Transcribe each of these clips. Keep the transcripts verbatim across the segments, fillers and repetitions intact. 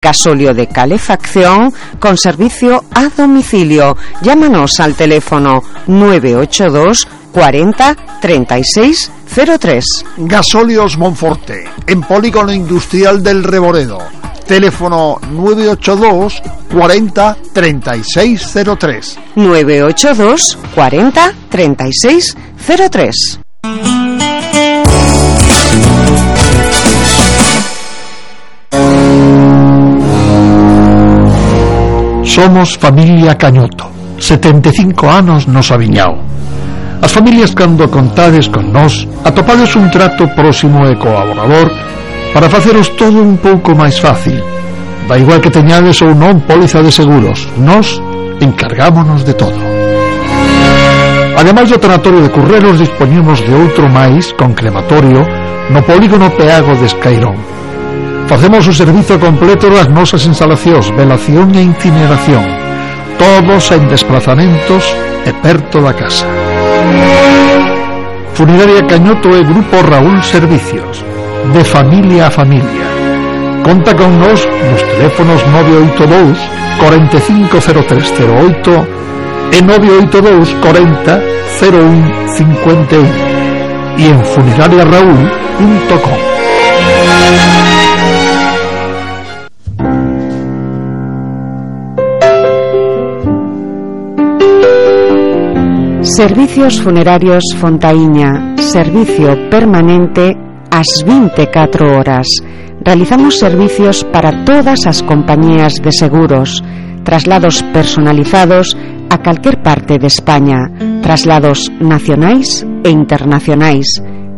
Gasóleo de calefacción con servicio a domicilio. Llámanos al teléfono nueve ocho dos cuarenta treinta y seis cero tres. Gasóleos Monforte, en Polígono Industrial del Reboredo. Teléfono nueve ocho dos cuarenta treinta y seis cero tres. nueve ocho dos cuarenta treinta y seis cero tres. Somos familia Cañoto, setenta e cinco anos nos aviñao. As familias cando contades con nós atopades un trato próximo e colaborador para faceros todo un pouco máis fácil. Da igual que teñades ou non póliza de seguros, nós encargámonos de todo. Ademais do tanatorio de Curreros, dispoñemos de outro máis con crematorio no polígono Peago de Escairón. Facemos o servizo completo das nosas instalacións, velación e incineración, todos en desplazamentos e perto da casa. Funeraria Cañoto e Grupo Raúl Servicios, de familia a familia. Conta con nos nos teléfonos nove oito dous cuarenta e cinco cero tres cero oito e nove oito dous cuarenta cero un cincuenta e un e en funeraria raúl punto com. Servicios Funerarios Fontaíña, servicio permanente ás vinte e catro horas. Realizamos servicios para todas as compañías de seguros, traslados personalizados a calquer parte de España, traslados nacionais e internacionais,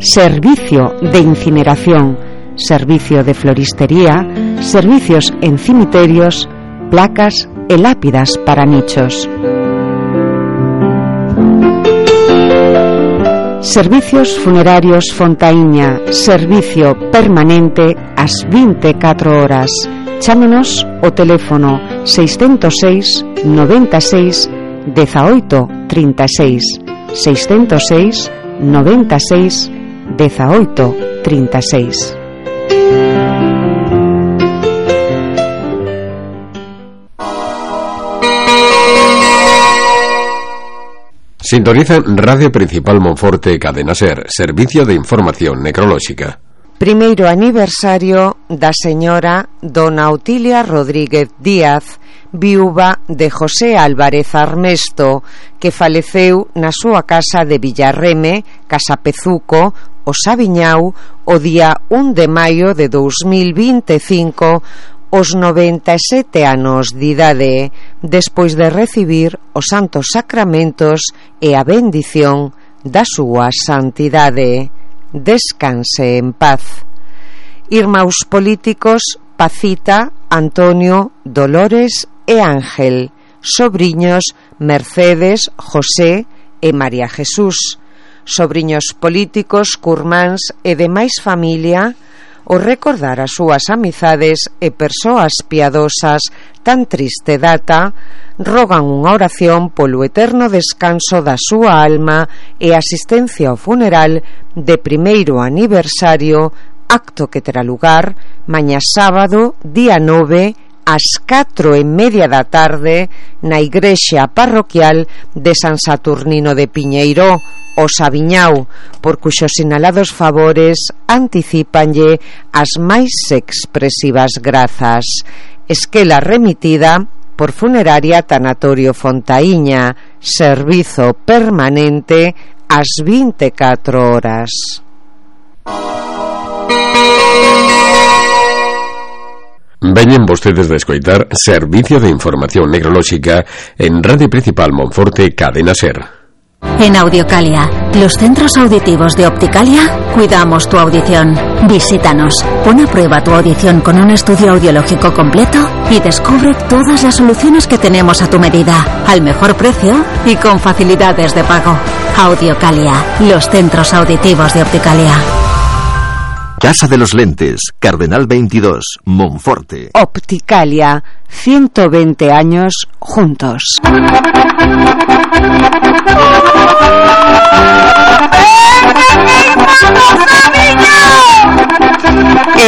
servicio de incineración, servicio de floristería, servicios en cimiterios, placas e lápidas para nichos. Servicios Funerarios Fontaíña, servicio permanente ás vinte e catro horas. Chámenos o teléfono seiscentos seis noventa e seis dezaoito trinta e seis, seiscentos seis noventa e seis dezaoito trinta e seis. Sintoniza Radio Principal Monforte, Cadena Ser, servicio de información necrolóxica. Primeiro aniversario da señora Dona Otilia Rodríguez Díaz, viúva de José Álvarez Armesto, que faleceu na súa casa de Villarreme, Casa Pezuco, o Sabiñao, o día un de maio de dous mil vinte e cinco, os noventa e sete anos de idade, despois de recibir os santos sacramentos e a bendición da súa santidade. Descanse en paz. Irmãos políticos Pacita, Antonio, Dolores e Ángel, sobriños Mercedes, José e María Jesús, sobriños políticos, curmáns e demais familia, o recordar as súas amizades e persoas piadosas tan triste data, rogan unha oración polo eterno descanso da súa alma e asistencia ao funeral de primeiro aniversario, acto que terá lugar mañá sábado, día nove, ás catro e media da tarde, na igrexa parroquial de San Saturnino de Piñeiro, o Sabiñao, por cuxos sinalados favores anticípanlle as máis expresivas grazas. Esquela remitida por Funeraria Tanatorio Fontaíña, servizo permanente ás vinte e catro horas. Veñen vostedes de escoitar Servicio de Información Necrolóxica en Radio Principal Monforte, Cadena Ser. En Audiocalia, los centros auditivos de Opticalia, cuidamos tu audición. Visítanos, pon a prueba tu audición con un estudio audiológico completo y descubre todas las soluciones que tenemos a tu medida, al mejor precio y con facilidades de pago. Audiocalia, los centros auditivos de Opticalia. Casa de los Lentes, Cardenal veintidós, Monforte. Opticalia, ciento veinte años juntos.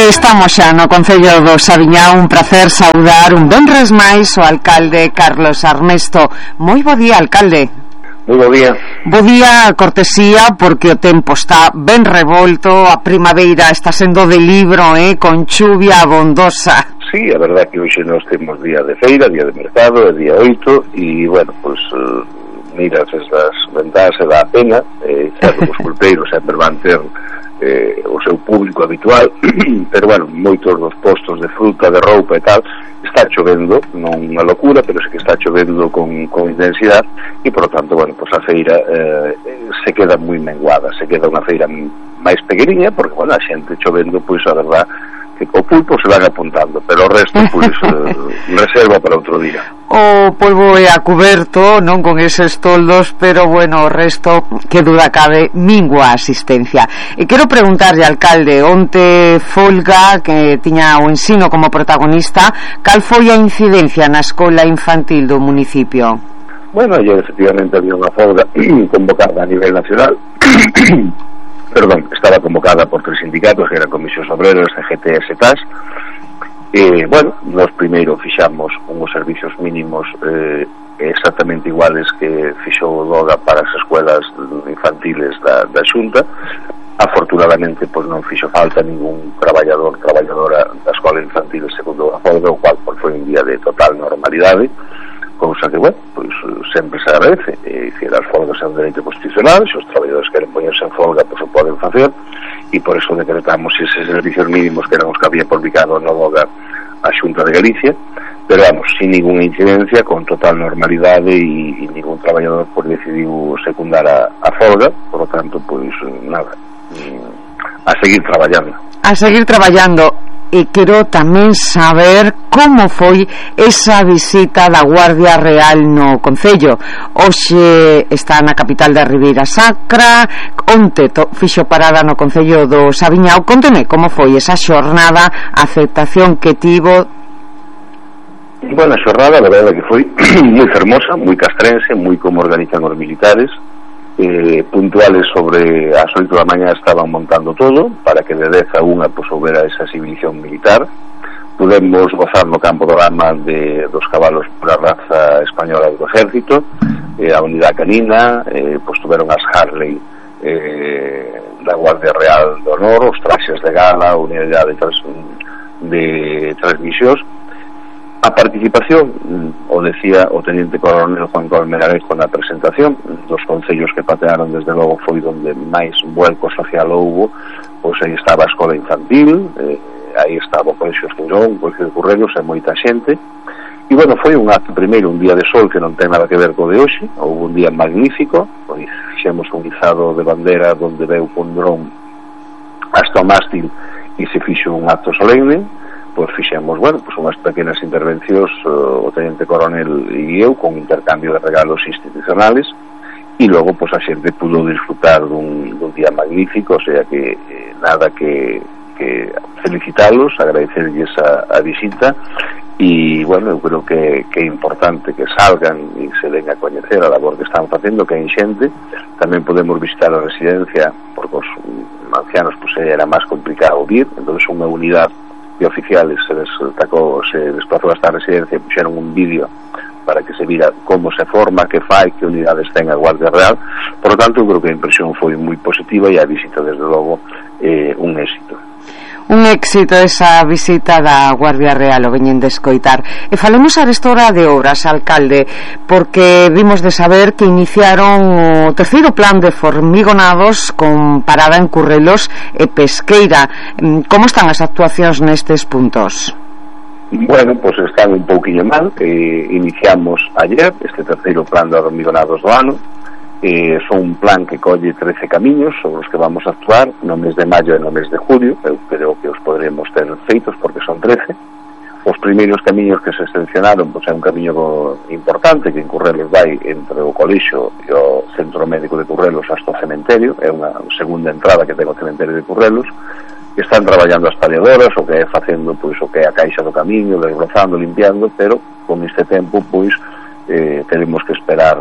Estamos xa no Concello do Saviñao. Un prazer saudar un venres máis o alcalde Carlos Armesto. Moi bo día, alcalde. Moi bo día. Bo día, cortesía, porque o tempo está ben revolto, a primavera está sendo de libro, eh, con chuvia abondosa. Sí, a verdade que hoxe nos temos día de feira, día de mercado, é día oito, e, bueno, pois, uh, miras esas ventás e dá a pena, eh, certo, os pulpeiros sempre van ter eh, o seu público habitual, pero, bueno, moitos dos postos de fruta, de roupa e tal, está chovendo, non unha locura, pero sí que está chovendo con, con intensidade, e, por lo tanto, bueno, pois a feira eh, se queda moi menguada, se queda unha feira máis pequeniña, porque, bueno, a xente chovendo, pois, a verdade, que o pulpo se van apuntando, pero o resto, pois, eh, reserva para outro día. O polvo é a cuberto, non con eses toldos, pero, bueno, o resto, que duda cabe, mingua a asistencia. E quero preguntarlle, alcalde, onte folga, que tiña o ensino como protagonista, cal foi a incidencia na escola infantil do municipio? Bueno, ayer, efectivamente, había unha folga convocada a nivel nacional, perdón, estaba convocada por tres sindicatos, que eran Comisións Obreras, C G T e S T A S, e, bueno, nos primeiro fixamos unhos servicios mínimos eh, exactamente iguales que fixou o DOGA para as escuelas infantiles da, da Xunta. Afortunadamente, pois non fixo falta ningún traballador, traballadora da escola infantil segundo a folga, o cual pois, foi un día de total normalidade, cousa que, bueno, pois sempre se agradece. E, dicir, as folgas é un dereito constitucional, se os traballadores queren poñerse en folga, pois o poden facer, e por eso decretamos eses servicios mínimos que eran os que había publicado no DOGA a Xunta de Galicia, pero, vamos, sin ninguna incidencia, con total normalidade, e, e ningún traballador pois decidiu secundar a, a folga, por lo tanto, pois, nada, a seguir traballando. A seguir traballando. E quero tamén saber como foi esa visita da Guardia Real no Concello. Hoxe está na capital da Ribeira Sacra, onte to, fixo parada no Concello do Saviñao. Conteme como foi esa xornada, a aceptación que tivo. Bueno, a xornada, a verdade que foi moi fermosa, moi castrense, moi como organizan os militares. Eh, puntuales sobre as oito da mañá estaban montando todo para que de dez a unha pues, houbera esa exhibición militar. Podemos gozar no campo do Gama de, dos cabalos pura raza española do exército, eh, a unidade canina, eh, pues, tuveron as Harley eh, da Guardia Real do Honor, os traxes de gala, a unidade de, trans, de transmisións. A participación, o decía o teniente coronel Juan Colmenarejo na presentación, dos concellos que patearon desde logo foi onde máis vuelco social houbo, pois aí estaba a escola infantil, eh, aí estaba o Colexio Estirón, o Colexio de Currelos e moita xente, e bueno, foi un acto primeiro, un día de sol que non ten nada que ver co de hoxe, houve un día magnífico, pois fixemos un izado de bandera onde veu un dron hasta o mástil e se fixo un acto solemne. Pois fixemos, bueno, pois unhas pequenas intervencións uh, o teniente coronel e eu con intercambio de regalos institucionales e logo pois a xente pudo disfrutar dun, dun día magnífico, o sea que eh, nada que, que felicitalos, agradecerlles a, a visita e, bueno, eu creo que, que é importante que salgan e se den a coñecer a labor que están facendo, que hai xente. Tamén podemos visitar a residencia porque os ancianos pois era máis complicado vir, entón unha unidade de oficiales se destacó, se desplazou hasta a residencia e puxeron un vídeo para que se vira como se forma, que fai, que unidades ten a Guardia Real. Por lo tanto, eu creo que a impresión foi moi positiva e a visita, desde logo, eh, un éxito. Un éxito esa visita da Guardia Real, o veñen de escoitar. E falemos arestora de obras, alcalde, porque vimos de saber que iniciaron o terceiro plan de formigonados con parada en Currelos e Pesqueira. Como están as actuacións nestes puntos? Bueno, pois pues están un pouquiño mal, que iniciamos ayer este terceiro plan de hormigonados do ano. Eh, son un plan que colle trece camiños sobre os que vamos a actuar no mes de maio e no mes de julio. Eu creo que os podremos ter feitos porque son trece. Os primeiros camiños que se seleccionaron, pois é un camiño importante que en Currelos vai entre o colexio e o Centro Médico de Currelos hasta o cementerio, é unha segunda entrada que ten o cementerio de Currelos. Están traballando as paliadoras, o que é facendo pois o que é a caixa do camiño, desbrozando, limpiando, pero con este tempo pois eh, tenemos que esperar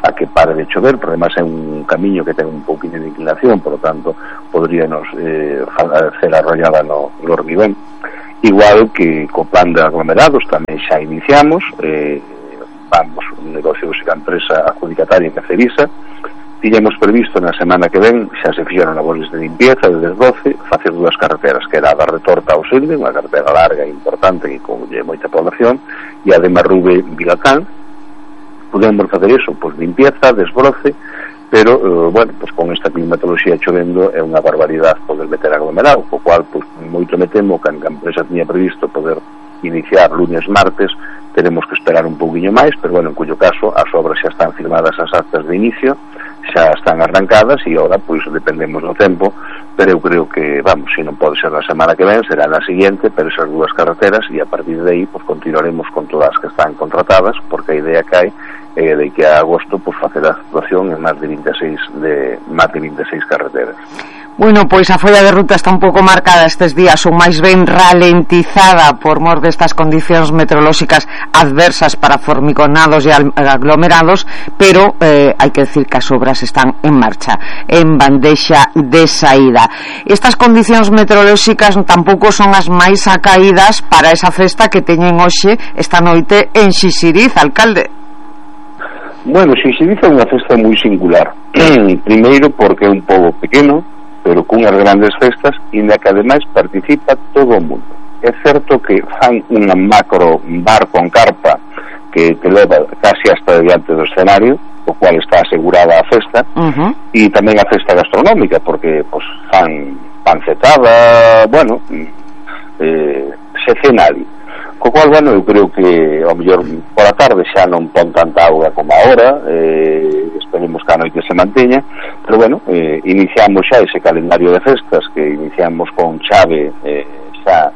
a que pare de chover, porque además é un camiño que ten un pouquinho de inclinación, por lo tanto podríanos eh, hacer arrollada no, no hormigón. Igual que co plan de aglomerados tamén xa iniciamos, eh, vamos, un negocio de empresa adjudicataria que Cerisa. Tiñamos previsto na semana que ven, xa se fixeron labores de limpieza de desbroce, facer dúas carreteras, que era a da Retorta ao Silde, unha carretera larga e importante que colle moita población, e a de Marrube Vilacán. Podemos facer iso, pois limpieza, desbroce, pero, eh, bueno, pois con esta climatoloxía chovendo é unha barbaridade poder meter aglomerado, co cual, pois, moito me temo que a empresa tiña previsto poder iniciar lunes, martes, teremos que esperar un pouquinho máis, pero, bueno, en cuyo caso, as obras xa están firmadas as actas de inicio, xa están arrancadas e agora, pois, dependemos do tempo, pero eu creo que, vamos, se non pode ser na semana que ven, será na seguinte, pero esas dúas carreteras, e a partir de aí, pois, continuaremos con todas as que están contratadas, porque a idea que hai eh, de que a agosto pues facer a actuación en máis de vinte e seis de máis de vinte e seis carreteras. Bueno, pois a folla de ruta está un pouco marcada estes días, ou máis ben ralentizada por mor destas condicións meteorolóxicas adversas para formiconados e aglomerados, pero eh, hai que decir que as obras están en marcha, en bandexa de saída. Estas condicións meteorolóxicas tampouco son as máis acaídas para esa festa que teñen hoxe esta noite en Xixiriz, alcalde. Bueno, Xixiriz é unha festa moi singular. Primeiro porque é un pobo pequeno, pero cunhas grandes festas, e na que ademais participa todo o mundo. É certo que fan unha macro bar con carpa que te leva casi hasta diante do escenario, o cual está asegurada a festa, uh-huh. E tamén a festa gastronómica, porque pues, fan pancetada, bueno, eh, se cena ali. Co cual, bueno, eu creo que ao mellor por a tarde xa non pon tanta auga como agora, eh, esperemos que a noite se manteña, pero bueno, eh, iniciamos xa ese calendario de festas que iniciamos con chave eh, xa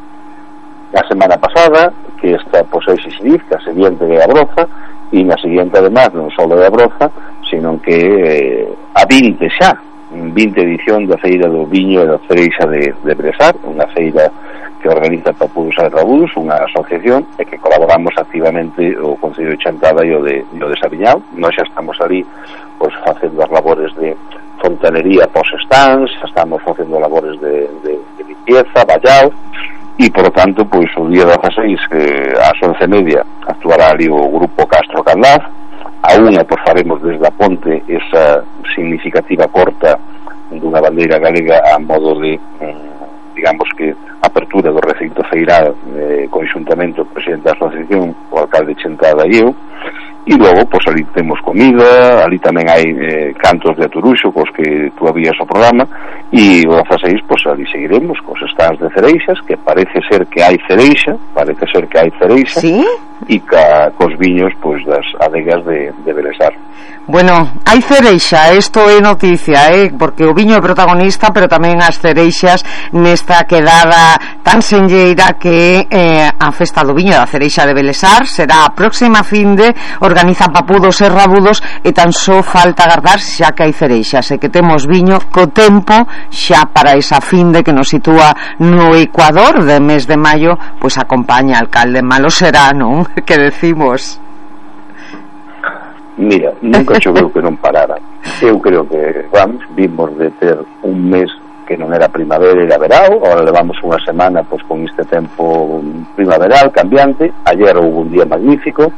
a semana pasada, que esta posee Xixiriz, que a seguinte de Abroza, e na seguinte además non só de Abroza, sino que eh, a vinte xa, vinte edición da Feira do Viño e da Cereixa de, de Bresar, unha feira que organiza Papudos e Rabudos, unha asociación, e que colaboramos activamente o Concello de Chantada e o de, e o de Sabiñao. Nós xa estamos ali pues, facendo as labores de fontanería pos-stands, estamos facendo labores de, de, de limpieza, vallao, e, por lo tanto, pois, o día dezaseis, que ás once e media, actuará ali o grupo Castro Candaz. A unha, pois, faremos desde a ponte esa significativa corta dunha bandeira galega a modo de, digamos que, apertura do recinto feiral eh, conxuntamente o presidente da asociación, o alcalde Chantada e eu, e logo, pois, ali temos comida, ali tamén hai eh, cantos de Aturuxo, cos que tú habías o programa, e o dezaseis, pois, ali seguiremos cos stands de cereixas, que parece ser que hai cereixa, parece ser que hai cereixa, ¿sí? E ca, cos viños, pois, das adegas de, de Belesar. Bueno, hai cereixa, isto é noticia, eh? Porque o viño é protagonista, pero tamén as cereixas nesta quedada tan senlleira que eh, a festa do viño da cereixa de Belesar será a próxima finde, organiza Papudos e Rabudos, e tan só falta agardar xa que hai cereixas e que temos viño co tempo xa para esa finde que nos sitúa no Ecuador de mes de maio, pois acompaña alcalde, malo será, non? Que decimos? Mira, nunca choveu que non parara. Eu creo que, vamos, vimos de ter un mes que non era primavera, era verao, agora levamos unha semana pois con este tempo primaveral, cambiante. Ayer houve un día magnífico,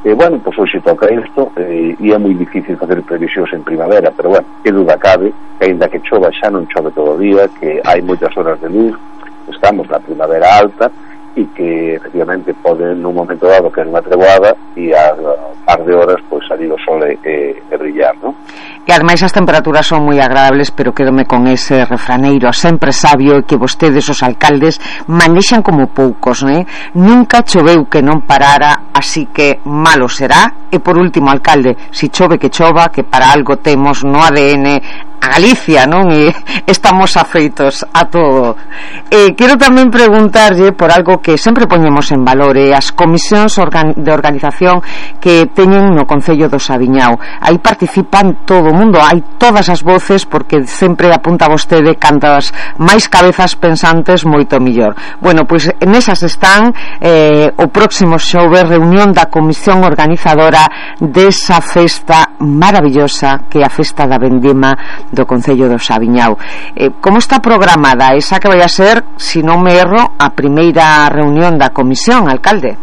e, bueno, pois hoxe toca isto, e, e é moi difícil facer previsións en primavera, pero, bueno, que duda cabe, que ainda que chova xa non chove todo o día, que hai moitas horas de luz, estamos na primavera alta, e que efectivamente pode nun momento dado que é unha treboada e a par de horas pois salir o sol e, e, e brillar, non? E ademais as temperaturas son moi agradables, pero quedome con ese refraneiro sempre sabio que vostedes os alcaldes manexan como poucos, né? Nunca choveu que non parara, así que malo será. E por último, alcalde, si chove que chova, que para algo temos no A D N a Galicia, non? E estamos afeitos a todo. Eh, quero tamén preguntarlle por algo que sempre poñemos en valor, eh, as comisións organ de organización que teñen no Concello do Saviñao. Aí participan todo o mundo, hai todas as voces, porque sempre apunta vostede cantas máis cabezas pensantes moito millor. Bueno, pois nesas están eh, o próximo xoves reunión da comisión organizadora desa festa maravillosa que é a festa da vendima do Concello do Saviñao. Eh, como está programada esa que vai a ser, se non me erro, a primeira reunión da comisión, alcalde?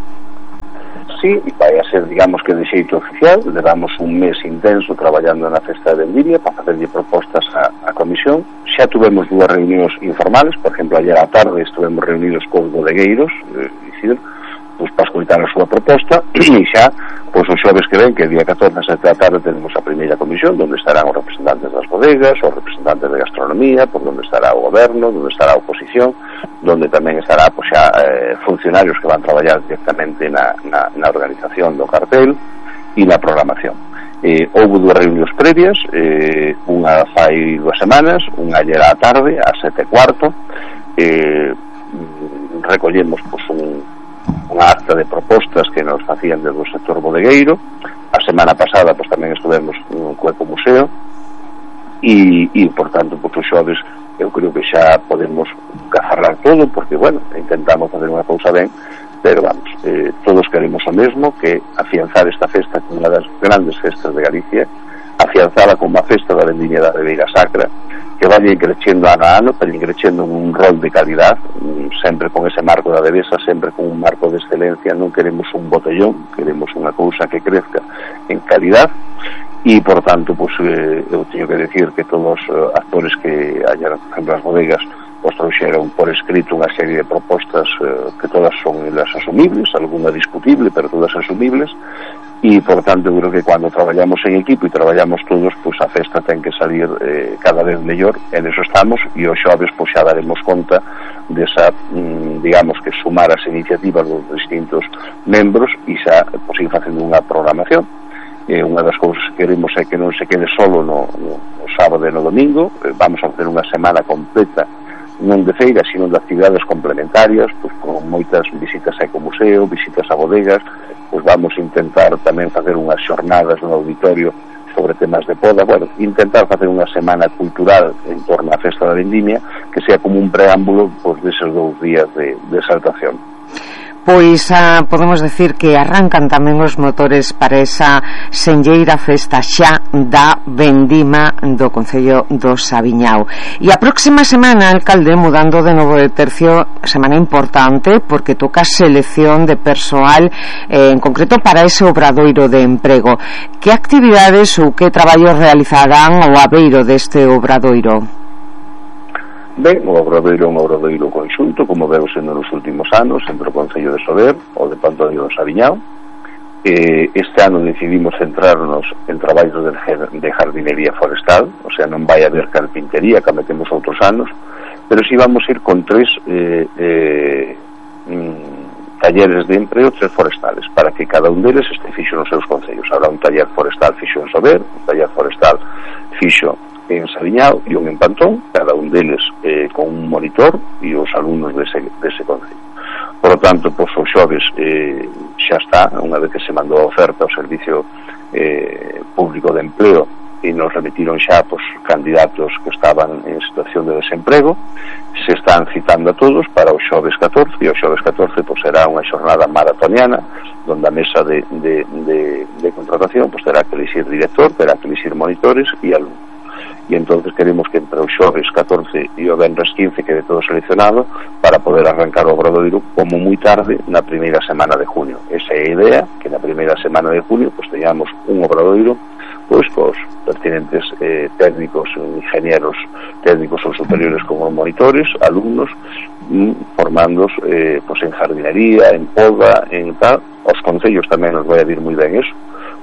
Sí, vai a ser, digamos que de xeito oficial. Levamos un mes intenso traballando na festa de vendimia para facerlle propostas á, á comisión. Xa tuvemos dúas reunións informales, por exemplo, ayer á tarde estuvemos reunidos cos bodegueiros, eh, Isidro, pois para escoitar a súa proposta, e xa, pois os xoves que ven, que el día catorce a sete da tarde tenemos a primeira comisión, onde estarán os representantes das bodegas, os representantes de gastronomía, por onde estará o goberno, onde estará a oposición, onde tamén estará, pois xa, eh, funcionarios que van traballar directamente na, na, na organización do cartel e na programación. Eh, houve dúas reunións previas, eh, unha fai dúas semanas, unha ayer á tarde, a sete e cuarto, eh, recollemos, pois, un unha acta de propostas que nos facían desde o sector bodegueiro. A semana pasada pois tamén estuvemos no Cueco Museo e, e por tanto, pois os xoves eu creo que xa podemos cafarrar todo, porque, bueno, intentamos fazer unha cousa ben, pero vamos, eh, todos queremos o mesmo, que afianzar esta festa como unha das grandes festas de Galicia, afianzala como a festa da vendimia da Ribeira Sacra, que vayan crecendo ano a ano, pero crecendo un rol de calidad, sempre con ese marco da devesa, sempre con un marco de excelencia. Non queremos un botellón, queremos unha cousa que crezca en calidad. E, por tanto, pues, eh, eu teño que decir que todos os uh, actores que hayan, por exemplo, as bodegas, pues trouxeron por escrito unha serie de propostas uh, que todas son elas asumibles, alguna discutible, pero todas asumibles. E, por tanto, eu creo que cando traballamos en equipo e traballamos todos, pois a festa ten que salir eh, cada vez mellor, en eso estamos, e os xoves pois xa daremos conta desa, mm, digamos que sumar as iniciativas dos distintos membros e xa pois ir facendo unha programación. Eh, unha das cousas que queremos é que non se quede solo no, no, no sábado e no domingo. Eh, vamos a facer unha semana completa, non de feira, sino de actividades complementarias, pois con moitas visitas a ecomuseo, visitas a bodegas. Pois vamos a intentar tamén facer unhas xornadas no auditorio sobre temas de poda, bueno, intentar facer unha semana cultural en torno á festa da vendimia que sea como un preámbulo pois deses dous días de, de exaltación. Pois ah, podemos decir que arrancan tamén os motores para esa senlleira festa xa da vendima do Concello do Saviñao. E a próxima semana, alcalde, mudando de novo de tercio, semana importante porque toca selección de persoal, eh, en concreto para ese obradoiro de emprego. Que actividades ou que traballos realizarán o abeiro deste obradoiro? Ben, o obradoiro é un obradoiro conxunto, como veu sendo nos últimos anos, entre o Concello de Sober, o de Pantodio do Saviñao. Eh, este ano decidimos centrarnos en traballos de, de jardinería forestal, o sea, non vai haber carpintería, que metemos outros anos, pero si vamos ir con tres eh, eh, mm, talleres de emprego, tres forestales, para que cada un deles este fixo nos seus concellos. Habrá un taller forestal fixo en Sober, un taller forestal fixo en Saviñao e un en Pantón, cada un deles eh, con un monitor e os alumnos dese, dese concello. Por lo tanto, pois, os xoves eh, xa está, unha vez que se mandou a oferta ao Servicio eh, Público de Empleo e nos remitiron xa pois, candidatos que estaban en situación de desemprego, se están citando a todos para o xoves catorce, e o xoves catorce pois, será unha xornada maratoniana donde a mesa de, de, de, de contratación pois, terá que elixir director, terá que elixir monitores e alumnos. E entonces queremos que entre o xoves catorce e o venres quince quede todo seleccionado para poder arrancar o obradoiro como moi tarde na primeira semana de junio. Esa é a idea, que na primeira semana de junio pues teñamos un obradoiro pois cos pertinentes eh, técnicos, ingenieros técnicos ou superiores como monitores, alumnos, mm, formandos eh, pues en jardinería, en poda, en tal. Os concellos tamén nos vai a vir moi ben eso,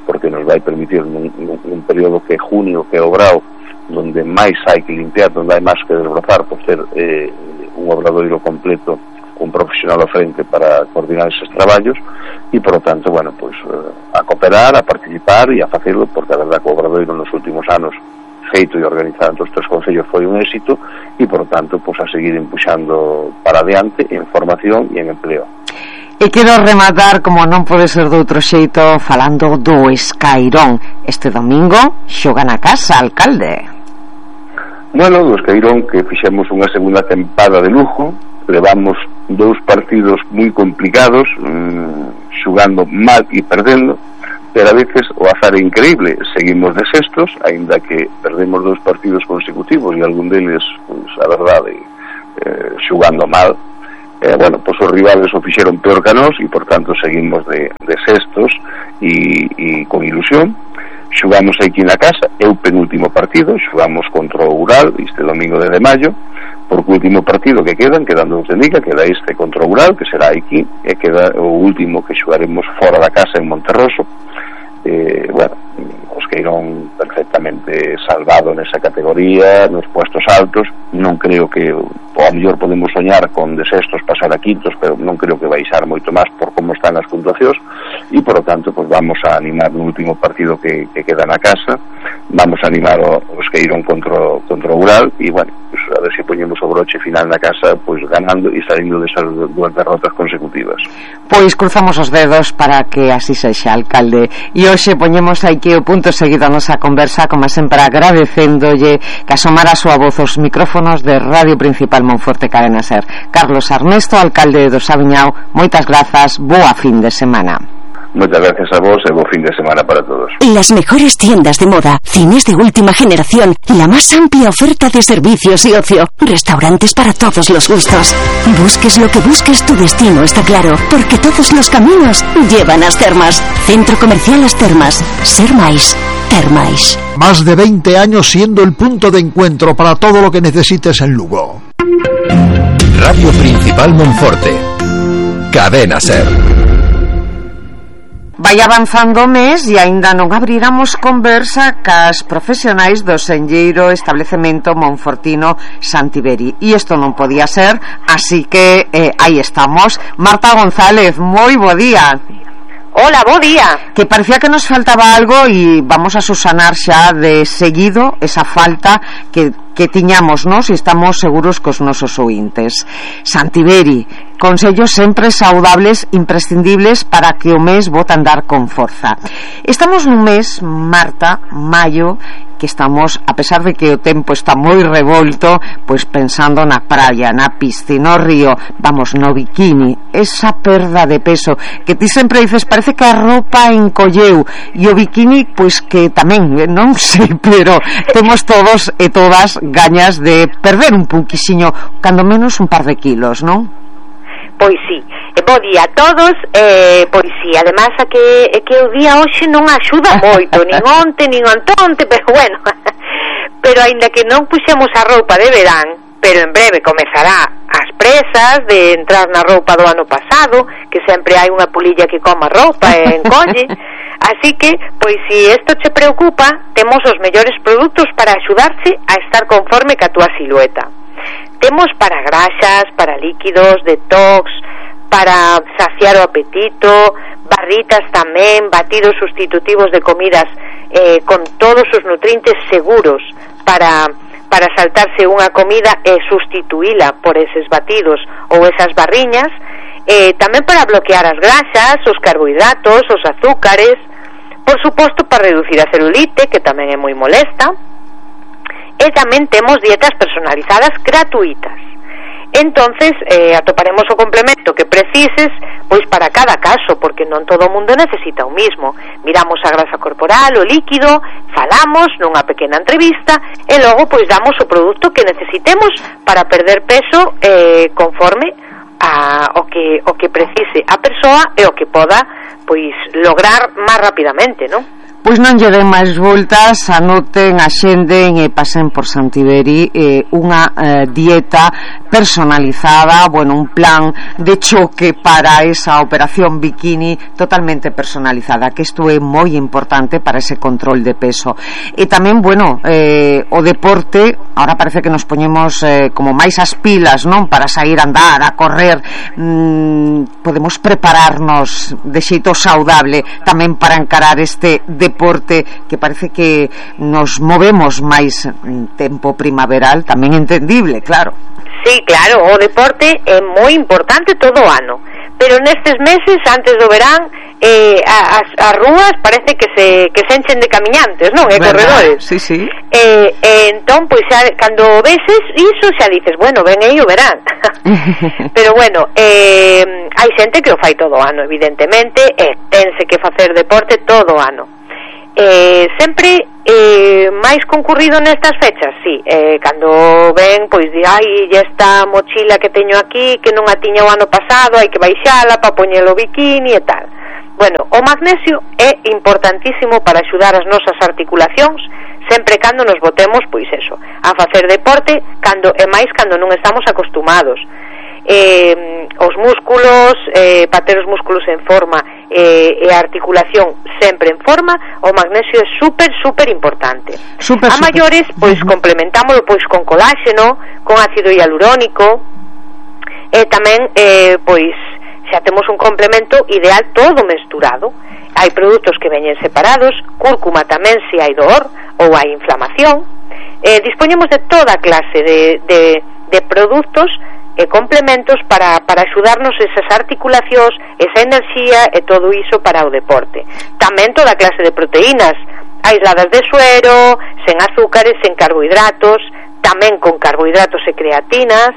porque nos vai permitir nun, nun, nun período que é junio, que é o brao, donde máis hai que limpiar, donde hai máis que desbrozar, por ser eh, un obradoiro completo un profesional ao frente para coordinar eses traballos e, por lo tanto, bueno, pues, eh, a cooperar, a participar e a facelo, porque a verdad que o obradoiro nos últimos anos feito e organizado entre os tres concellos foi un éxito e, por tanto, pues, a seguir empuxando para adiante en formación e en empleo. E quero rematar, como non pode ser de outro xeito, falando do Escairón. Este domingo xoga na casa, alcalde. Bueno, do Escairón, que fixemos unha segunda tempada de lujo, levamos dous partidos moi complicados, mmm, xugando mal e perdendo, pero a veces o azar é increíble, seguimos de sextos, aínda que perdemos dous partidos consecutivos e algún deles, pues, a verdade, eh, xugando mal. Eh, bueno, pois pues os rivales o fixeron peor que a nós e, por tanto, seguimos de, de sextos e, e con ilusión. Xugamos aquí na casa, é o penúltimo partido, xugamos contra o Ural este domingo de maio, porque o último partido que quedan, quedan dous de Liga, queda este contra o Ural, que será aquí, e queda o último que xugaremos fora da casa en Monterroso. Eh, bueno, os Escairón perfectamente salvado nesa categoría, nos puestos altos. Non creo que, ou a mellor podemos soñar con de sextos pasar a quintos, pero non creo que baixar moito máis por como están as puntuacións, e por lo tanto pues vamos a animar no último partido que, que queda na casa, vamos a animar o, o Escairón contra, contra o Ural, e bueno, pues a ver se poñemos o broche final na casa, pues ganando e salindo desas dúas derrotas consecutivas. Pois cruzamos os dedos para que así sexa, alcalde. E hoxe poñemos aquí o punto seguido a nosa conversa, como sempre agradecéndolle que asomara a súa voz aos micrófonos de Radio Principal Monforte Cadena Ser. Carlos Armesto, alcalde do Saviñao, moitas grazas, boa fin de semana. Muchas gracias a vos y buen fin de semana para todos. Las mejores tiendas de moda, cines de última generación, la más amplia oferta de servicios y ocio, restaurantes para todos los gustos. Busques lo que busques, tu destino está claro, porque todos los caminos llevan a As Termas. Centro Comercial As Termas. Ser máis, ter máis. Más de veinte años siendo el punto de encuentro para todo lo que necesites en Lugo. Radio Principal Monforte. Cadena Ser. Vai avanzando o mes e aínda non abriramos conversa cas profesionais do senlleiro establecemento monfortino Santiberi. E isto non podía ser, así que eh, aí estamos. Marta González, moi bo día. Hola, bo día. Que parecía que nos faltaba algo e vamos a susanar xa de seguido esa falta que, que tiñamos, nos, e estamos seguros cos nosos ointes. Santiberi, consellos sempre saudables, imprescindibles para que o mes bota andar con forza. Estamos nun mes, Marta, maio, que estamos, a pesar de que o tempo está moi revolto, pois pensando na praia, na piscina, no río, vamos, no bikini, esa perda de peso que ti sempre dices, parece que a roupa encolleu, e o bikini, pois que tamén, non sei, pero temos todos e todas gañas de perder un pouquixiño, cando menos un par de kilos, non? Pois sí, e bo día a todos, eh, pois sí, además a que, é que o día hoxe non axuda moito, nin onte, nin ontonte, pero bueno, pero aínda que non puxemos a roupa de verán, pero en breve comezará as presas de entrar na roupa do ano pasado, que sempre hai unha pulilla que coma roupa e encolle, así que, pois si isto che preocupa, temos os mellores produtos para axudarche a estar conforme ca túa silueta. Temos para graxas, para líquidos, detox, para saciar o apetito, barritas tamén, batidos sustitutivos de comidas eh, con todos os nutrientes seguros para, para saltarse unha comida e sustituíla por eses batidos ou esas barriñas, eh, tamén para bloquear as graxas, os carbohidratos, os azúcares, por suposto para reducir a celulite, que tamén é moi molesta. E tamén temos dietas personalizadas gratuitas. Entonces, eh, atoparemos o complemento que precises, pois para cada caso, porque non todo o mundo necesita o mismo. Miramos a grasa corporal, o líquido, falamos nunha pequena entrevista e logo pois damos o produto que necesitemos para perder peso eh, conforme a o que o que precise a persoa e o que poda pois lograr máis rapidamente, non? Pois non lle den máis voltas, anoten, axenden e pasen por Santiberi eh, unha eh, dieta personalizada, bueno, un plan de choque para esa operación bikini totalmente personalizada, que isto é moi importante para ese control de peso. E tamén, bueno, eh, o deporte, ahora parece que nos poñemos eh, como máis as pilas, non? Para sair a andar, a correr, mm, podemos prepararnos de xeito saudable tamén para encarar este deporte deporte que parece que nos movemos máis en tempo primaveral, tamén entendible, claro. Sí, claro, o deporte é moi importante todo o ano, pero nestes meses antes do verán eh, as, as rúas parece que se que se enchen de camiñantes, non? E corredores. Sí, sí. Eh, eh, entón, pois xa, cando veses iso xa dices, bueno, ven aí o verán. Pero bueno, eh, hai xente que o fai todo o ano, evidentemente, e tense que facer deporte todo o ano. Eh, sempre eh, máis concurrido nestas fechas, sí, eh, cando ven, pois di, ai, ya esta mochila que teño aquí que non a tiña o ano pasado, hai que baixala para poñelo bikini e tal. Bueno, o magnesio é importantísimo para axudar as nosas articulacións sempre cando nos botemos, pois eso, a facer deporte, cando e máis cando non estamos acostumados. Eh, os músculos, eh, para ter os músculos en forma eh, e a articulación sempre en forma, o magnesio é super, super importante. Super, a super. maiores, pois uh-huh. complementámoslo pois con coláxeno, con ácido hialurónico, e tamén, eh, pois, xa temos un complemento ideal todo mesturado. Hai produtos que veñen separados, cúrcuma tamén se hai dor ou hai inflamación. Eh, dispoñemos de toda clase de, de, de produtos e complementos para, para axudarnos esas articulacións, esa enerxía e todo iso para o deporte. Tamén toda clase de proteínas, aisladas de suero, sen azúcares, sen carbohidratos, tamén con carbohidratos e creatinas,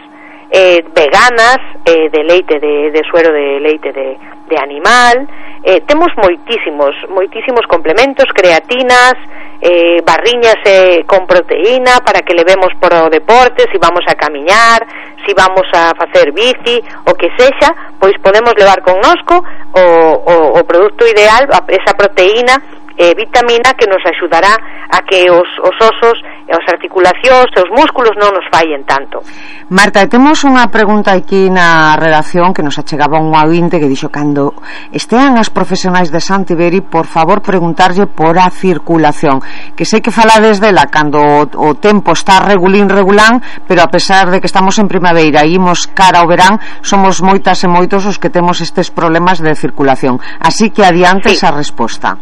eh, veganas, eh, de leite de, de suero de leite de, de animal. Eh, temos moitísimos moitísimos complementos, creatinas, eh, barriñas eh, con proteína para que levemos por o deporte, si vamos a camiñar, si vamos a facer bici, o que sexa, pois podemos levar connosco o, o, o produto ideal, esa proteína e eh, vitamina que nos axudará a que os, os osos, as articulacións e os músculos non nos fallen tanto. Marta, temos unha pregunta aquí na redacción que nos achegaba un ouvinte que dixo: cando estean as profesionais de Santiberi, por favor preguntarlle por a circulación, que sei que falades dela cando o, o tempo está regulín regulán, pero a pesar de que estamos en primavera e imos cara ao verán, somos moitas e moitos os que temos estes problemas de circulación, así que adiante sí. esa resposta.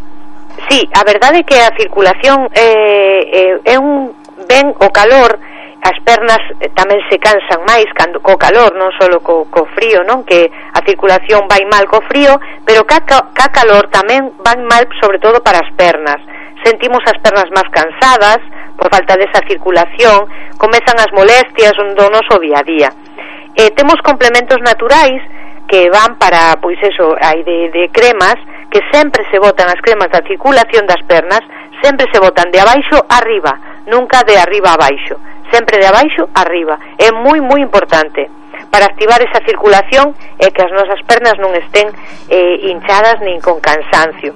Sí, a verdade é que a circulación eh, eh, é un ben o calor, as pernas tamén se cansan máis cando co calor, non só co, co frío, non? Que a circulación vai mal co frío, pero ca, ca calor tamén van mal sobre todo para as pernas. Sentimos as pernas máis cansadas por falta desa circulación, comezan as molestias do noso día a día. Eh, temos complementos naturais que van para, pois eso, hai de, de cremas que sempre se botan as cremas da circulación das pernas, sempre se botan de abaixo arriba, nunca de arriba a abaixo, sempre de abaixo arriba. É moi moi importante para activar esa circulación e que as nosas pernas non estén eh, hinchadas nin con cansancio.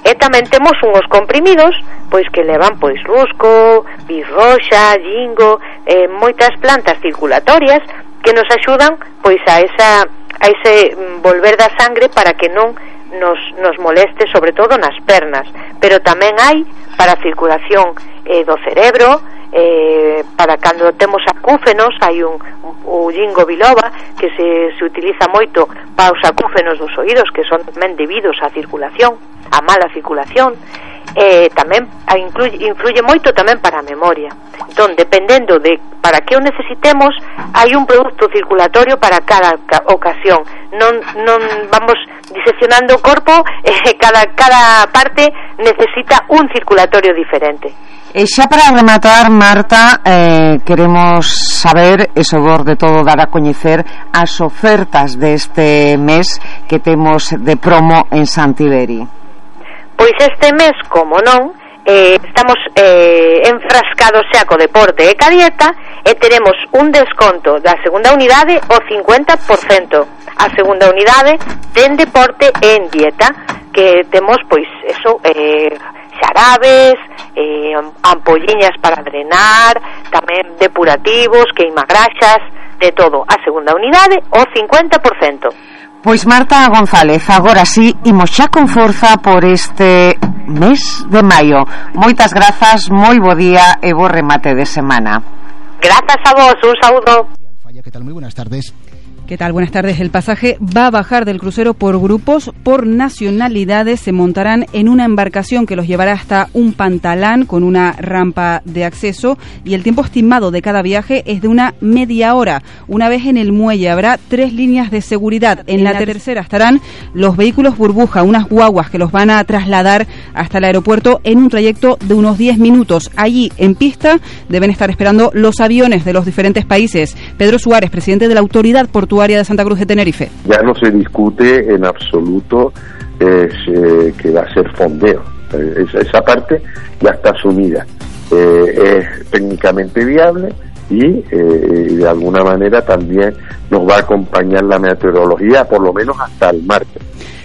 E tamén temos unhos comprimidos pois que levan pois rusco, bisroxa, jingo, eh, moitas plantas circulatorias que nos axudan pois a esa a ese volver da sangre para que non nos, nos moleste sobre todo nas pernas, pero tamén hai para a circulación eh, do cerebro, eh, para cando temos acúfenos, hai un, un, un ginkgo biloba que se, se utiliza moito para os acúfenos dos oídos, que son tamén debidos á circulación, a mala circulación. Eh, tamén influye, influye moito tamén para a memoria. Entón, dependendo de para que o necesitemos, hai un produto circulatorio para cada ocasión. Non, non vamos diseccionando o corpo, eh, cada, cada parte necesita un circulatorio diferente. E xa para rematar, Marta, eh, queremos saber, e sobre todo dar a coñecer as ofertas deste mes que temos de promo en Santiberi. Pois este mes, como non, eh, estamos eh, enfrascados xa co deporte e ca dieta, e teremos un desconto da segunda unidade o cincuenta por cento. A segunda unidade ten deporte e en dieta, que temos pois eso, eh, xarabes, eh, ampolliñas para drenar, tamén depurativos, queimagraxas, de todo. A segunda unidade o cincuenta por cento. Pois Marta González, agora sí, imos xa con forza por este mes de maio. Moitas grazas, moi bo día e bo remate de semana. Grazas a vos, un saúdo. Falla, ¿qué tal? Muy buenas tardes. ¿Qué tal? Buenas tardes. El pasaje va a bajar del crucero por grupos, por nacionalidades. Se montarán en una embarcación que los llevará hasta un pantalán con una rampa de acceso y el tiempo estimado de cada viaje es de una media hora. Una vez en el muelle habrá tres líneas de seguridad. En la tercera estarán los vehículos burbuja, unas guaguas que los van a trasladar hasta el aeropuerto en un trayecto de unos diez minutos. Allí, en pista, deben estar esperando los aviones de los diferentes países. Pedro Suárez, presidente de la Autoridad Portuaria de Santa Cruz de Tenerife. Ya no se discute en absoluto eh, se, que va a ser fondeo. Eh, esa, esa parte ya está asumida. Eh, es técnicamente viable y eh, de alguna manera también nos va a acompañar la meteorología por lo menos hasta el martes.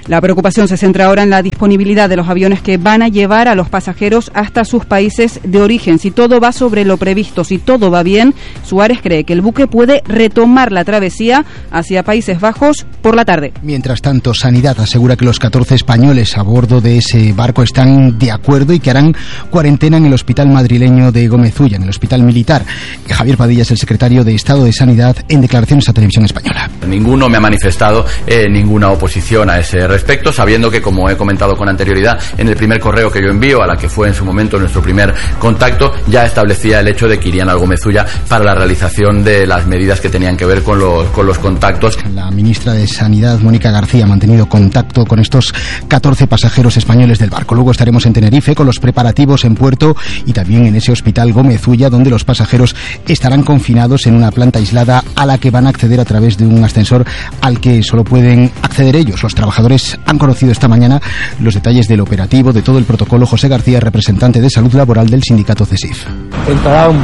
La preocupación se centra ahora en la disponibilidad de los aviones que van a llevar a los pasajeros hasta sus países de origen. Si todo va sobre lo previsto, si todo va bien, Suárez cree que el buque puede retomar la travesía hacia Países Bajos por la tarde. Mientras tanto, Sanidad asegura que los catorce españoles a bordo de ese barco están de acuerdo y que harán cuarentena en el hospital madrileño de Gómez Ulla, en el hospital militar. Javier Padilla es el secretario de Estado de Sanidad en declaraciones a Televisión Española. Ninguno me ha manifestado eh, ninguna oposición a ese respecto, sabiendo que, como he comentado con anterioridad, en el primer correo que yo envío, a la que fue en su momento nuestro primer contacto, ya establecía el hecho de que irían al Gómez Ulla para la realización de las medidas que tenían que ver con los, con los contactos. La ministra de Sanidad, Mónica García, ha mantenido contacto con estos catorce pasajeros españoles del barco. Luego estaremos en Tenerife con los preparativos en puerto y también en ese hospital Gómez Ulla, donde los pasajeros estarán confinados en una planta aislada a la que van a acceder a través de un ascensor al que solo pueden acceder ellos. Los trabajadores han conocido esta mañana los detalles del operativo, de todo el protocolo. José García, representante de Salud Laboral del sindicato CESIF. Entrarán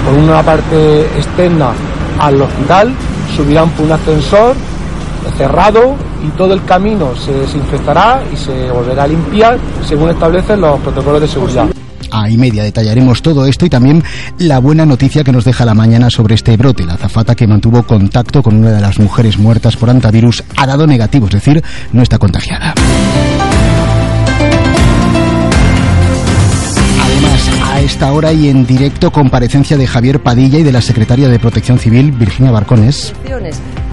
por una parte externa al hospital, subirán por un ascensor cerrado y todo el camino se desinfectará y se volverá a limpiar según establecen los protocolos de seguridad. A y media detallaremos todo esto y también la buena noticia que nos deja la mañana sobre este brote. La azafata que mantuvo contacto con una de las mujeres muertas por hantavirus ha dado negativo, es decir, no está contagiada. Además, a esta hora y en directo, comparecencia de Javier Padilla y de la secretaria de Protección Civil, Virginia Barcones.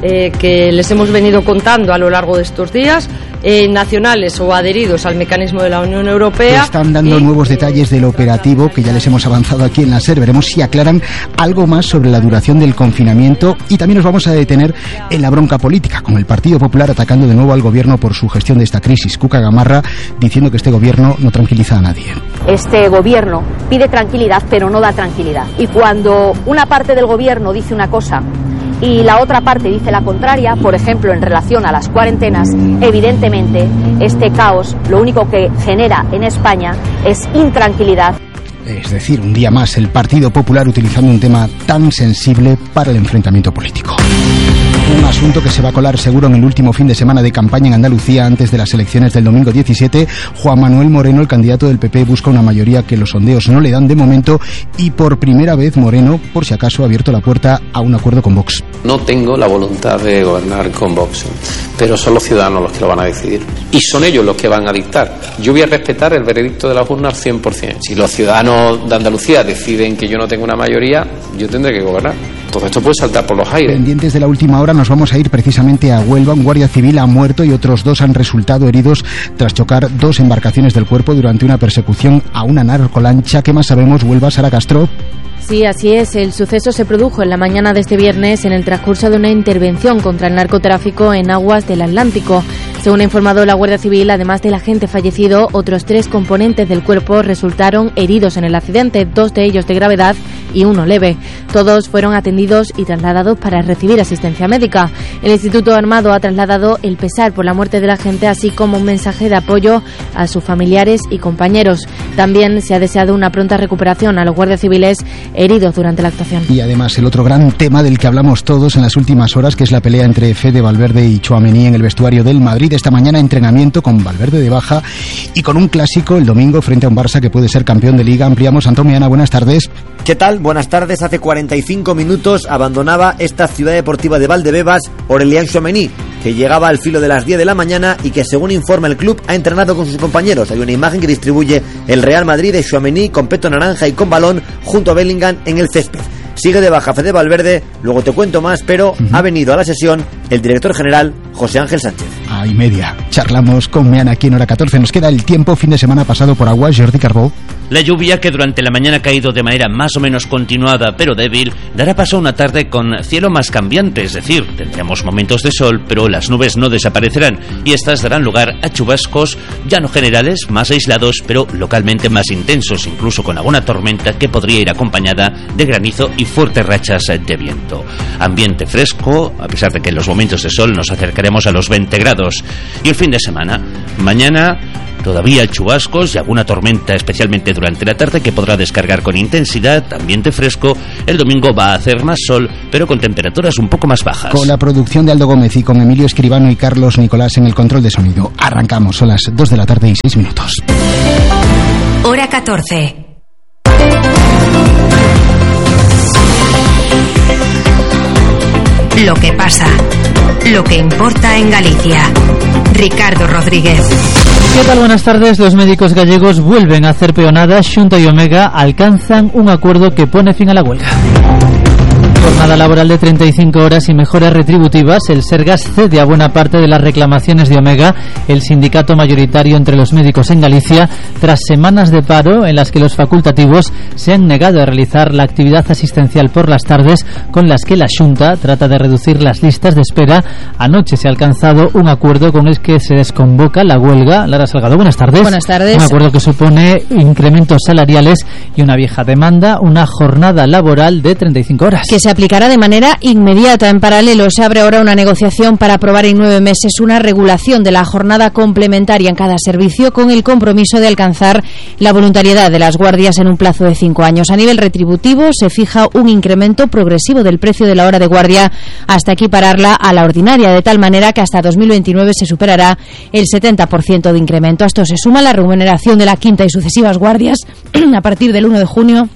Eh, que les hemos venido contando a lo largo de estos días, eh, nacionales o adheridos al mecanismo de la Unión Europea. Están dando y, nuevos detalles del operativo que ya les hemos avanzado aquí en la SER. Veremos si aclaran algo más sobre la duración del confinamiento y también nos vamos a detener en la bronca política, con el Partido Popular atacando de nuevo al gobierno por su gestión de esta crisis. Cuca Gamarra diciendo que este gobierno no tranquiliza a nadie. Este gobierno pide tranquilidad, pero no da tranquilidad. Y cuando una parte del gobierno dice una cosa y la otra parte dice la contraria, por ejemplo, en relación a las cuarentenas, evidentemente este caos lo único que genera en España es intranquilidad. Es decir, un día más el Partido Popular utilizando un tema tan sensible para el enfrentamiento político. Un asunto que se va a colar seguro en el último fin de semana de campaña en Andalucía antes de las elecciones del domingo diecisiete. Juan Manuel Moreno, el candidato del P P, busca una mayoría que los sondeos no le dan de momento y por primera vez Moreno, por si acaso, ha abierto la puerta a un acuerdo con Vox. No tengo la voluntad de gobernar con Vox, pero son los ciudadanos los que lo van a decidir y son ellos los que van a dictar. Yo voy a respetar el veredicto de las urnas al cien por ciento. Si los ciudadanos de Andalucía deciden que yo no tengo una mayoría, yo tendré que gobernar. Todo esto puede saltar por los aires. Pendientes de la última hora, nos vamos a ir precisamente a Huelva. Un guardia civil ha muerto y otros dos han resultado heridos tras chocar dos embarcaciones del cuerpo durante una persecución a una narcolancha. ¿Qué más sabemos, Huelva, Sara Castro? Sí, así es. El suceso se produjo en la mañana de este viernes en el transcurso de una intervención contra el narcotráfico en aguas del Atlántico. Según ha informado la Guardia Civil, además del agente fallecido, otros tres componentes del cuerpo resultaron heridos en el accidente, dos de ellos de gravedad y uno leve. Todos fueron atendidos y trasladados para recibir asistencia médica. El Instituto Armado ha trasladado el pesar por la muerte del agente, así como un mensaje de apoyo a sus familiares y compañeros. También se ha deseado una pronta recuperación a los guardias civiles heridos durante la actuación. Y además el otro gran tema del que hablamos todos en las últimas horas, que es la pelea entre Fede Valverde y Tchouaméni en el vestuario del Madrid. Esta mañana entrenamiento con Valverde de baja y con un clásico el domingo frente a un Barça que puede ser campeón de Liga. Ampliamos. Antomiana, buenas tardes. ¿Qué tal? Buenas tardes. Hace cuarenta y cinco minutos abandonaba esta ciudad deportiva de Valdebebas Aurélien Tchouaméni, que llegaba al filo de las diez de la mañana y que, según informa el club, ha entrenado con sus compañeros. Hay una imagen que distribuye el Real Madrid de Tchouaméni con peto naranja y con balón junto a Bellingham en el césped. Sigue de baja Fede Valverde, luego te cuento más, pero uh-huh. ha venido a la sesión el director general José Ángel Sánchez. A y media. Charlamos con Mean aquí en Hora catorce. Nos queda el tiempo, fin de semana pasado por agua, Jordi Carbó. La lluvia, que durante la mañana ha caído de manera más o menos continuada pero débil, dará paso a una tarde con cielo más cambiante, es decir, tendremos momentos de sol, pero las nubes no desaparecerán y estas darán lugar a chubascos ya no generales, más aislados, pero localmente más intensos, incluso con alguna tormenta que podría ir acompañada de granizo y fuertes rachas de viento. Ambiente fresco, a pesar de que en los momentos de sol nos acercaremos a los veinte grados. Y el fin de semana, mañana todavía chubascos y alguna tormenta, especialmente durante la tarde, que podrá descargar con intensidad, ambiente fresco. El domingo va a hacer más sol, pero con temperaturas un poco más bajas. Con la producción de Aldo Gómez y con Emilio Escribano y Carlos Nicolás en el control de sonido. Arrancamos, son las dos de la tarde y seis minutos. Hora catorce. Lo que pasa, lo que importa en Galicia. Ricardo Rodríguez. ¿Qué tal? Buenas tardes. Los médicos gallegos vuelven a hacer peonada. Xunta y Omega alcanzan un acuerdo que pone fin a la huelga. Jornada laboral de treinta y cinco horas y mejoras retributivas. El Sergas cede a buena parte de las reclamaciones de Omega, el sindicato mayoritario entre los médicos en Galicia, tras semanas de paro en las que los facultativos se han negado a realizar la actividad asistencial por las tardes, con las que la Xunta trata de reducir las listas de espera. Anoche se ha alcanzado un acuerdo con el que se desconvoca la huelga. Lara Salgado, buenas tardes. Buenas tardes. Un acuerdo que supone incrementos salariales y una vieja demanda, una jornada laboral de treinta y cinco horas. Que se aplicará de manera inmediata. En paralelo se abre ahora una negociación para aprobar en nueve meses una regulación de la jornada complementaria en cada servicio, con el compromiso de alcanzar la voluntariedad de las guardias en un plazo de cinco años. A nivel retributivo se fija un incremento progresivo del precio de la hora de guardia hasta equipararla a la ordinaria, de tal manera que hasta dos mil veintinueve se superará el setenta por ciento de incremento. A esto se suma la remuneración de la quinta y sucesivas guardias a partir del uno de junio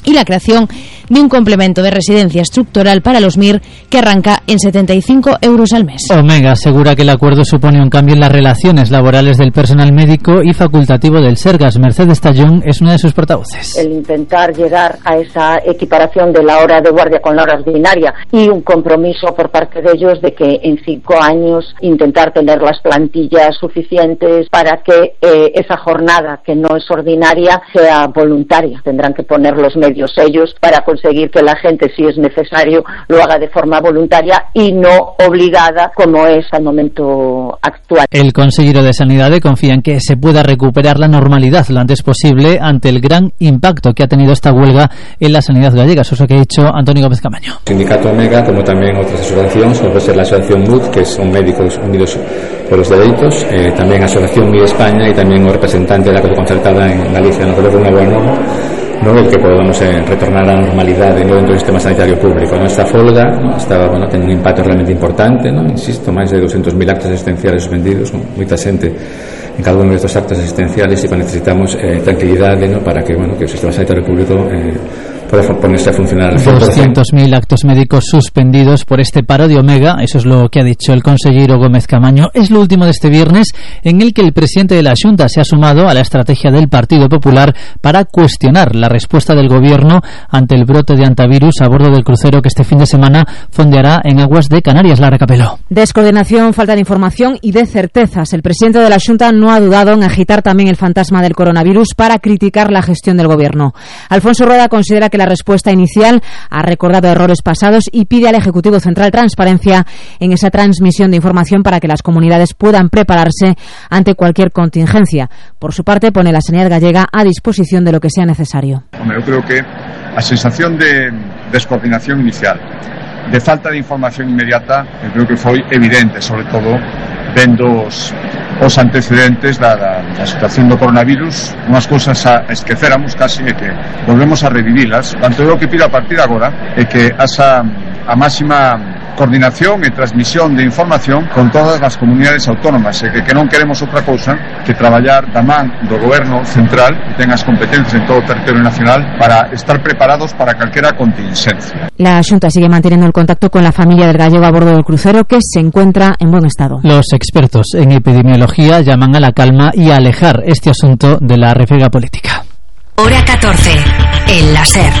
y la creación de un complemento de residencia estructural para los M I R que arranca en setenta y cinco euros al mes. Omega asegura que el acuerdo supone un cambio en las relaciones laborales del personal médico y facultativo del Sergas. Mercedes Tallón es una de sus portavoces. El intentar llegar a esa equiparación de la hora de guardia con la hora ordinaria y un compromiso por parte de ellos de que en cinco años intentar tener las plantillas suficientes para que eh, esa jornada que no es ordinaria sea voluntaria. Tendrán que poner los medios ellos para conseguir que la gente, si es necesario, lo haga de forma voluntaria y no obligada como es al momento actual. El consejero de Sanidad confía en que se pueda recuperar la normalidad lo antes posible ante el gran impacto que ha tenido esta huelga en la sanidad gallega. Eso es lo que ha dicho Antonio Gómez Camaño. El sindicato Omega, como también otras asociaciones, como puede ser la asociación M U D, que son Médicos Unidos por los Derechos, eh, también asociación M I D España y también un representante de la concertada en Galicia. Nos parece una buena no el que podamos eh, retornar a la normalidad de nuevo dentro del sistema sanitario público. ¿No? Esta folga ¿no? estaba bueno, teniendo un impacto realmente importante, ¿no? Insisto, máis de doscientos mil actos asistenciales suspendidos, ¿no? Moita xente en cada uno de estos actos asistenciales, y pues necesitamos eh, tranquilidade ¿no? para que, bueno, que el sistema sanitario público eh, pueda ponerse a funcionar. doscientos mil actos médicos suspendidos por este paro de Omega, eso es lo que ha dicho el consejero Gómez Camaño. Es lo último de este viernes en el que el presidente de la Xunta se ha sumado a la estrategia del Partido Popular para cuestionar la respuesta del gobierno ante el brote de antivirus a bordo del crucero que este fin de semana fondeará en aguas de Canarias. Lara Capeló. Descoordinación, falta de información y de certezas. El presidente de la Xunta no ha dudado en agitar también el fantasma del coronavirus para criticar la gestión del gobierno. Alfonso Rueda considera que la respuesta inicial ha recordado errores pasados y pide al Ejecutivo Central transparencia en esa transmisión de información para que las comunidades puedan prepararse ante cualquier contingencia. Por su parte, pone la sanidad gallega a disposición de lo que sea necesario. Hombre, eu creo que a sensación de descoordinación inicial, de falta de información inmediata, eu creo que foi evidente, sobre todo vendo os, os antecedentes da, da, da situación do coronavirus, unhas cousas a esquecéramos casi e que volvemos a revivilas. Tanto eu que pido a partir de agora é que asa a máxima coordinación e transmisión de información con todas as comunidades autónomas e que, que non queremos outra cousa que traballar da man do goberno central que ten as competencias en todo o territorio nacional para estar preparados para calquera contingencia. La Xunta sigue manteniendo el contacto con la familia del gallego a bordo del crucero, que se encuentra en buen estado. Los expertos en epidemiología llaman a la calma y a alejar este asunto de la refriega política. Hora catorce, el láser.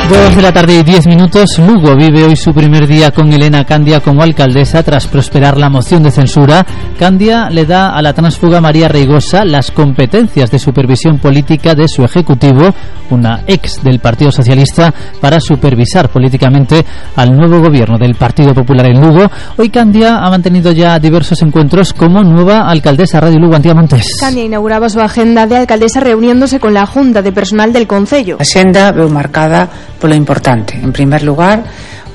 Dos de la tarde y diez minutos. Lugo vive hoy su primer día con Elena Candia como alcaldesa tras prosperar la moción de censura. Candia le da a la tránsfuga María Reigosa las competencias de supervisión política de su ejecutivo, una ex del Partido Socialista, para supervisar políticamente al nuevo gobierno del Partido Popular en Lugo. Hoy Candia ha mantenido ya diversos encuentros como nueva alcaldesa. Radio Lugo, Antía Montes. Candia inauguraba su agenda de alcaldesa reuniéndose con la Junta de Personal del Concello. A xenda veu marcada polo importante. En primer lugar,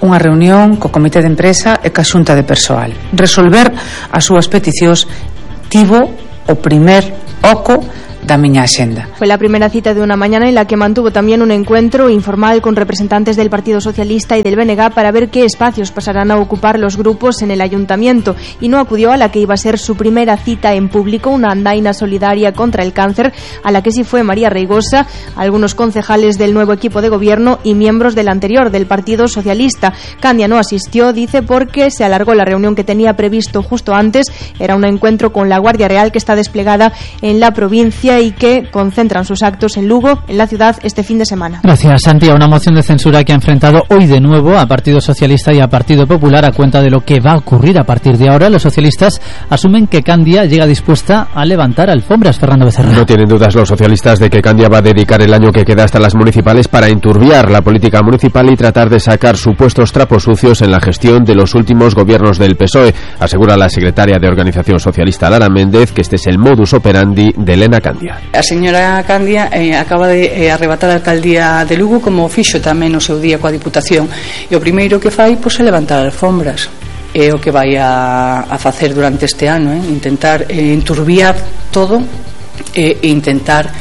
unha reunión co comité de empresa e ca xunta de persoal. Resolver as súas peticións tivo o primer oco da miña axenda. Fue la primera cita de una mañana en la que mantuvo también un encuentro informal con representantes del Partido Socialista y del B N G para ver qué espacios pasarán a ocupar los grupos en el ayuntamiento, y no acudió a la que iba a ser su primera cita en público, una andaina solidaria contra el cáncer, a la que sí fue María Reigosa, algunos concejales del nuevo equipo de gobierno y miembros del anterior, del Partido Socialista. Candia no asistió, dice, porque se alargó la reunión que tenía previsto justo antes. Era un encuentro con la Guardia Real que está desplegada en la provincia y que concentran sus actos en Lugo, en la ciudad, este fin de semana. Gracias, Santi. Una moción de censura que ha enfrentado hoy de nuevo a Partido Socialista y a Partido Popular a cuenta de lo que va a ocurrir a partir de ahora. Los socialistas asumen que Candia llega dispuesta a levantar alfombras. Fernando Becerra. No tienen dudas los socialistas de que Candia va a dedicar el año que queda hasta las municipales para enturbiar la política municipal y tratar de sacar supuestos trapos sucios en la gestión de los últimos gobiernos del P S O E. Asegura la secretaria de Organización Socialista, Lara Méndez, que este es el modus operandi de Elena Candia. A señora Candia eh, acaba de eh, arrebatar a alcaldía de Lugo, como fixo tamén no seu día coa Diputación, e o primeiro que fai pois, é levantar alfombras. É o que vai a, a facer durante este ano, eh? intentar eh, enturbiar todo e eh, intentar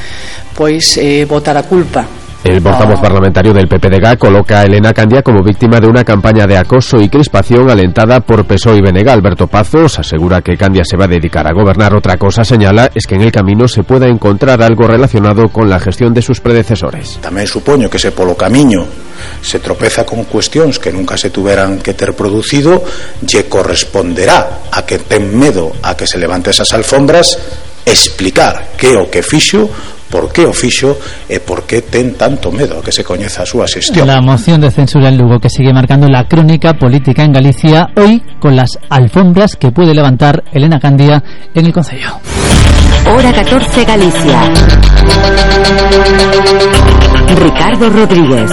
pois eh, botar a culpa. El portavoz parlamentario del P P D G coloca a Elena Candia como víctima de una campaña de acoso y crispación alentada por P S O E y B N G. Alberto Pazos asegura que Candia se va a dedicar a gobernar. Otra cosa, señala, es que en el camino se pueda encontrar algo relacionado con la gestión de sus predecesores. Tamén supoño que se polo camiño se tropeza con cuestións que nunca se tuveran que ter producido, lle corresponderá a que ten medo a que se levante esas alfombras explicar que o que fixo, por que o fixo e por que ten tanto medo a que se coñeza a súa xestión. La moción de censura en Lugo que sigue marcando la crónica política en Galicia, hoy con las alfombras que puede levantar Elena Candia en el Concello. Hora catorce Galicia. Ricardo Rodríguez.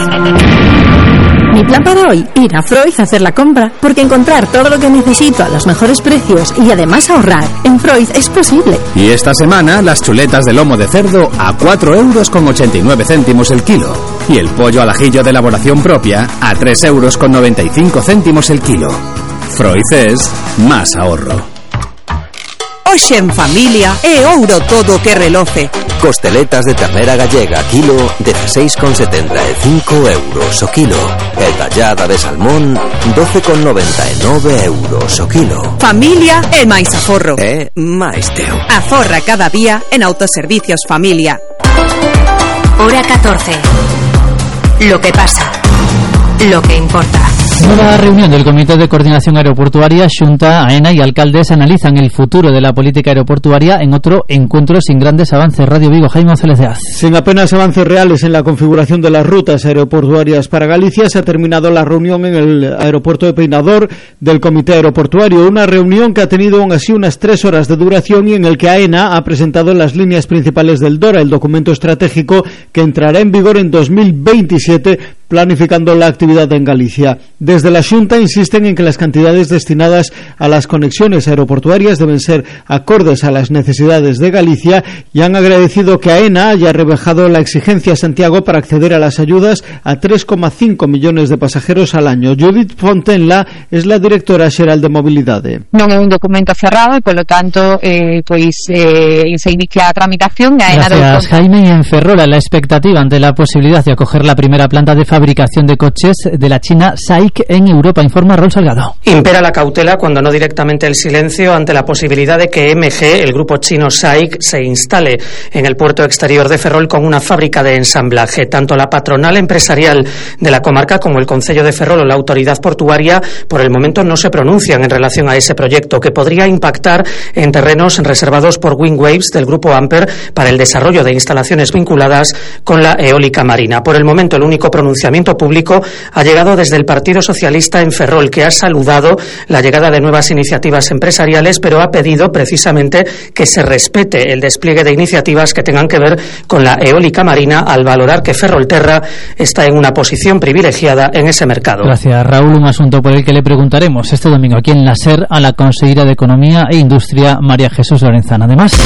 Mi plan para hoy, ir a Freud a hacer la compra, porque encontrar todo lo que necesito a los mejores precios y además ahorrar en Freud es posible. Y esta semana las chuletas de lomo de cerdo a cuatro euros con ochenta y nueve céntimos el kilo y el pollo al ajillo de elaboración propia a tres euros con noventa y cinco céntimos el kilo. Freud es más ahorro. Hoxe en familia é ouro todo que reloce. Costeletas de ternera gallega kilo dieciséis con setenta e cinco euros o kilo. E tallada de salmón doce con noventa e nove euros o kilo. Familia é máis aforro. É máis teu. Aforra cada día en Autoservicios Familia. Hora catorce. Lo que pasa. Lo que importa. Nueva reunión del Comité de Coordinación Aeroportuaria. Xunta, AENA y alcaldes analizan el futuro de la política aeroportuaria en otro encuentro sin grandes avances. Radio Vigo, Jaime González de Az. Sin apenas avances reales en la configuración de las rutas aeroportuarias para Galicia, se ha terminado la reunión en el aeropuerto de Peinador del Comité Aeroportuario. Una reunión que ha tenido aún así unas tres horas de duración y en el que AENA ha presentado las líneas principales del DORA, el documento estratégico que entrará en vigor en dos mil veintisiete, planificando la actividad en Galicia. Desde la Xunta insisten en que las cantidades destinadas a las conexiones aeroportuarias deben ser acordes a las necesidades de Galicia y han agradecido que AENA haya rebajado la exigencia a Santiago para acceder a las ayudas a tres coma cinco millones de pasajeros al año. Judith Fontenla es la directora xeral de Mobilidade. Non é un documento cerrado e, polo tanto, eh, pois eh, se inicia a tramitación. AENA. Gracias, Jaime. Y en Ferrol, la expectativa ante la posibilidad de acoger la primera planta de fabricación de coches de la China S A I C en Europa, informa Raúl Salgado. Impera la cautela, cuando no directamente el silencio, ante la posibilidad de que M G, el grupo chino S A I C, se instale en el puerto exterior de Ferrol con una fábrica de ensamblaje. Tanto la patronal empresarial de la comarca como el Concello de Ferrol o la autoridad portuaria por el momento no se pronuncian en relación a ese proyecto, que podría impactar en terrenos reservados por Windwaves del grupo Amper para el desarrollo de instalaciones vinculadas con la eólica marina. Por el momento, el único pronunciamiento ayuntamiento público ha llegado desde el Partido Socialista en Ferrol, que ha saludado la llegada de nuevas iniciativas empresariales, pero ha pedido precisamente que se respete el despliegue de iniciativas que tengan que ver con la eólica marina, al valorar que Ferrolterra está en una posición privilegiada en ese mercado. Gracias, Raúl. Un asunto por el que le preguntaremos este domingo aquí en la SER a la consejera de Economía e Industria, María Jesús Lorenzana. Además,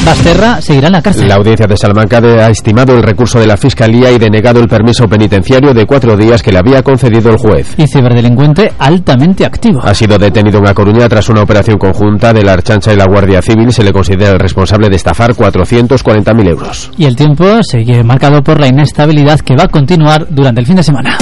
Basterra seguirá en la cárcel. La audiencia de Salamanca ha estimado el recurso de la Fiscalía y denegado el permiso penitenciario de cuatro días que le había concedido el juez. Y ciberdelincuente altamente activo. Ha sido detenido en A Coruña tras una operación conjunta de la Archancha y la Guardia Civil. Se le considera el responsable de estafar cuatrocientos cuarenta mil euros. Y el tiempo sigue marcado por la inestabilidad que va a continuar durante el fin de semana.